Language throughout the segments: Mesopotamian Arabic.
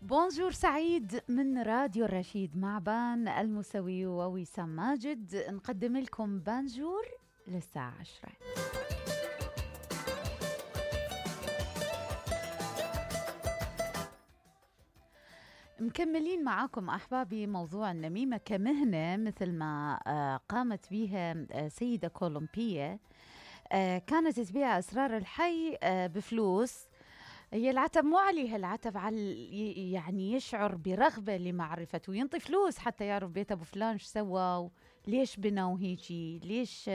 بونجور سعيد من راديو الرشيد مع بان الموسوي ووسام ماجد، نقدم لكم بانجور للساعة 10. مكملين معاكم أحبابي موضوع النميمة كمهنة مثل ما قامت بها سيدة كولومبية كانت تبيع أسرار الحي بفلوس. هي العتب مو عليها، العتب على يعني يشعر برغبة لمعرفته وينطي فلوس حتى يعرف بيت أبو فلان شو سوى، ليش بنوا هيجي، ليش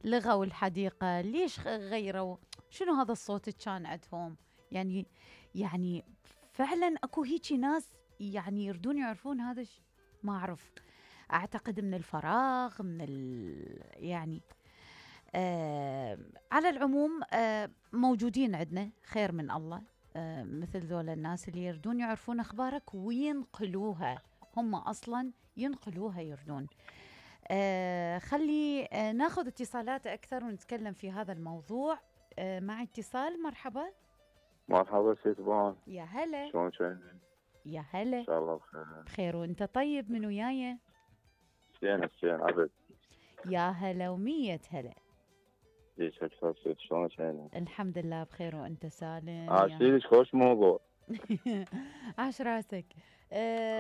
لغوا الحديقة، ليش غيروا، شنو هذا الصوت كان عندهم. يعني فعلا اكو هيجي ناس يعني يردون يعرفون هذا ما أعرف، أعتقد من الفراغ من يعني على العموم موجودين عندنا خير من الله مثل ذول الناس اللي يردون يعرفون أخبارك وينقلوها، هم أصلا ينقلوها يردون. خلي ناخذ اتصالات أكثر ونتكلم في هذا الموضوع. مع اتصال. مرحبا. مرحبا سيد بان. يا هلا. شلون شايفين؟ يا هلا. ان شاء الله بخير. بخير وانت طيب؟ من وياي؟ زين عبد. يا هلا ومية هلا. ليش اكثر سيد؟ شلون شايفين؟ الحمد لله بخير وانت سالم. عاشيلك خوش موضوع. عاش راسك.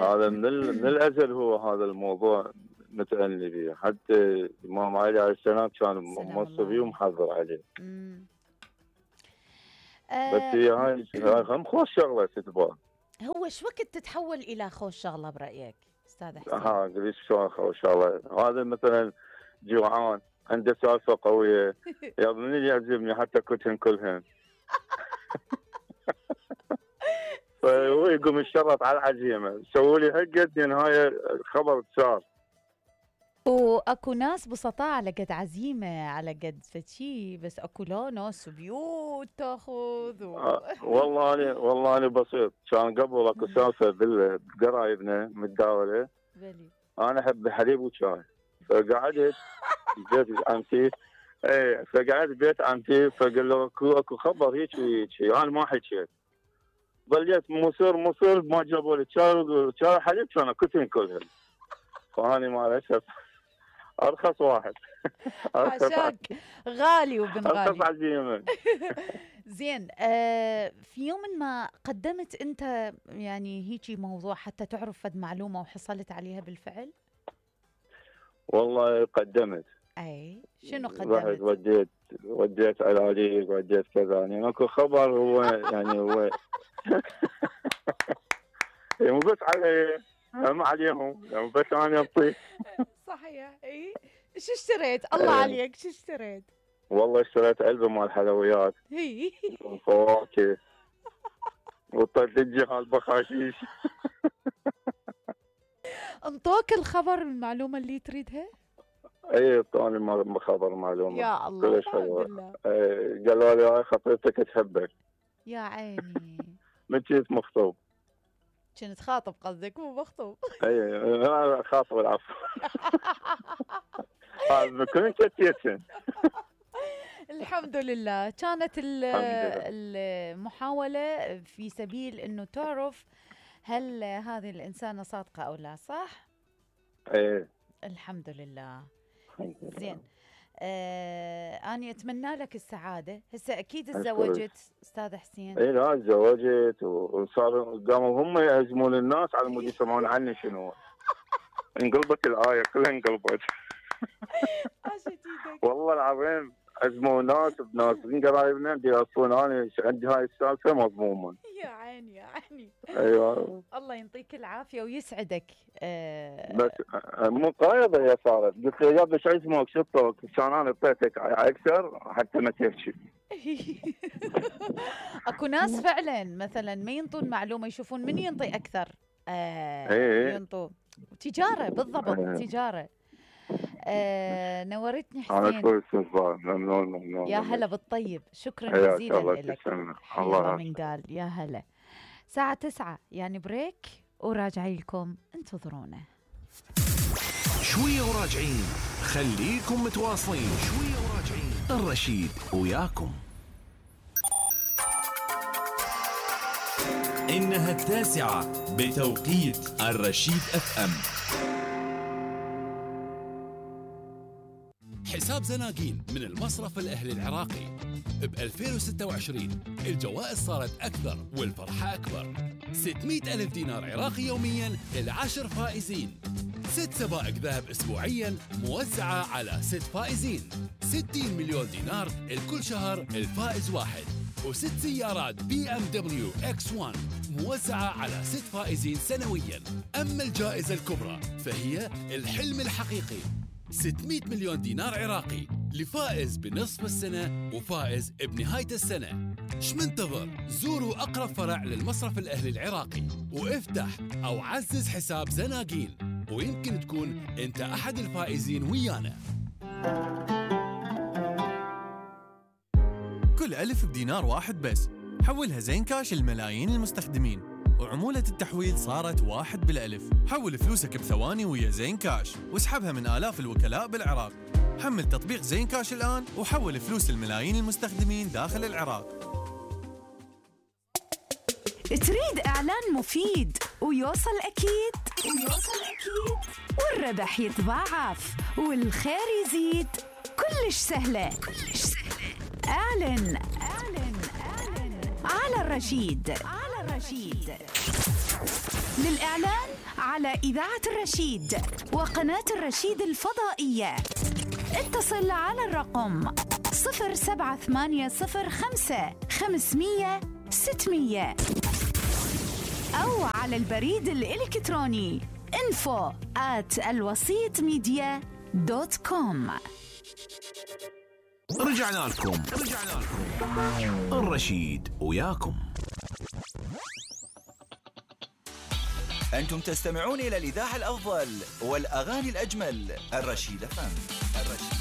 هذا من الازل هو هذا الموضوع متأني به، حتى الامام علي عليه السلام كان موصي به ومحضر عليه. بس هاي هم خوش شغله سيد بان. هو شو وقت تتحول الى خوش شغله برايك استاذ حسين؟ قلت شلون خوش شغله؟ هذا مثلا جوعان عنده سالفه قويه يا من اللي يعجبني حتى كلهن كلهن. فهو يقوم يشرط على العزيمه، سووا لي هالقد نهايه الخبر صار. واكو ناس بسطاء على قد عزيمه على قد فشي، بس اكو لا ناس بيوت تاخذ والله انا بسيط. كان قبل اكو سالفه بقرايبنا متداوله. انا احب الحليب وشاي، فقعدت بيت عمتي. فقعدت بيت عمتي فقال له اكو خبر هيك وهيك، انا ما حكيت. ظليت مصر ما جابوا لي شاي حليب، كان كلهن. فاني ما الاسف ارخص واحد. حاشاك غالي وبن غالي. ارخص عزيمه. زين. في يوم ما قدمت انت يعني هيجي موضوع حتى تعرف فد معلومه وحصلت عليها بالفعل؟ والله قدمت. اي شنو قدمت؟ رحت وديت علاجيك وديت كذا، يعني اكو خبر هو يعني هو مو بس علي هم عليهم، يعني بس انا اطيح. صحيح. اي شو اشتريت؟ الله عليك شو اشتريت؟ والله اشتريت علبه مال حلويات وفواكه وطلجي هالبخاشيش. انطوك الخبر المعلومه اللي تريدها؟ اي اعطاني خبر معلومه. يا الله الحمد لله. قالوا لي هاي خطيبتك تحبك. يا عيني. من كنت مخطوب. كنت خاطب قصدك مو مخطوب؟ اي انا خاطب العفو. كنت كتير. الحمد لله. كانت المحاولة في سبيل انه تعرف هل هذه الانسانة صادقة او لا، صح؟ ايه الحمد لله. زين. أنا أتمنى لك السعادة. هسه أكيد تزوجت أستاذ حسين؟ إيه لا تزوجت وصار قاموا هم يهزمون الناس على مود يسمعون عني شنو. انقلبت الآية كلها انقلبت. والله العظيم هزموا ناس بناس من قرايبنا بيوصون انا عندي هاي السالفة مضمومة. يا عيني يا عيني. ايوه الله يعطيك العافية ويسعدك. بس مو قايضة هي صارت، قلت له يا ابني شو اسمك شو الطوق؟ كان انا اعطيتك اكثر حتى ما تحكي. اكو ناس فعلا مثلا ما ينطون معلومة، يشوفون من ينطي اكثر. ينطوا تجارة بالضبط. تجارة. نورتني حسين. ممنون. يا هلا بالطيب. شكرا جزيلا لك. الله من قال يا هلا. الساعة 9 يعني بريك وراجعي لكم، انتظرونا شوية وراجعين. خليكم متواصلين. شوية وراجعين. الرشيد وياكم. إنها 9 بتوقيت الرشيد FM. حساب زناقين من المصرف الأهلي العراقي. ب 2026 الجوائز صارت أكثر والفرحة أكبر. 600 ألف دينار عراقي يومياً ل10 فائزين. 6 سبائك ذهب أسبوعياً موزعة على 6 فائزين. 60 مليون دينار الكل شهر الفائز واحد. و6 سيارات BMW X1 موزعة على 6 فائزين سنوياً. أما الجائزة الكبرى فهي الحلم الحقيقي، 600 مليون دينار عراقي لفائز بنصف السنة وفائز بنهاية السنة. شمنتظر؟ زوروا أقرب فرع للمصرف الأهلي العراقي وافتح أو عزز حساب زناقين، ويمكن تكون أنت أحد الفائزين ويانا. كل ألف بدينار واحد بس، حولها زين كاش لملايين المستخدمين، وعمولة التحويل صارت 1 بالألف. حول فلوسك بثواني ويا زين كاش واسحبها من آلاف الوكلاء بالعراق. حمل تطبيق زين كاش الآن وحول فلوس الملايين المستخدمين داخل العراق. تريد إعلان مفيد ويوصل أكيد والربح يتضاعف والخير يزيد، كلش سهلة. اعلن على الرشيد. للإعلان على إذاعة الرشيد وقناة الرشيد الفضائية اتصل على الرقم 07805 500 600 أو على البريد الإلكتروني info@alwasitmedia.com. رجعنا لكم الرشيد وياكم. أنتم تستمعون إلى الإذاعة الأفضل والأغاني الأجمل، الرشيد FM.